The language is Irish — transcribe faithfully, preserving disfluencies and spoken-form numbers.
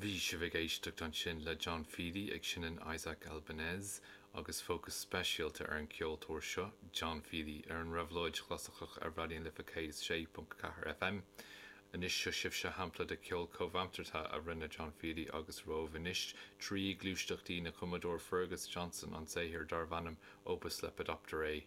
Bhí sibh ag éisteacht ansin le John Feely ag seinm Isaac Albéniz agus fócas speisialta ar an ceoltóir seo John Feely ar an Réabhlóid Chlasaiceach ar Raidió na Life céad sé ponc ceathair FM. Anois seo sibhse shampla de ceol comhaimseartha a rinne John Feely agus romhaibh anois trí gluaisteachtaí na cumadóir Fergus Johnson an saothar darb ainm Opus Lepidopterae.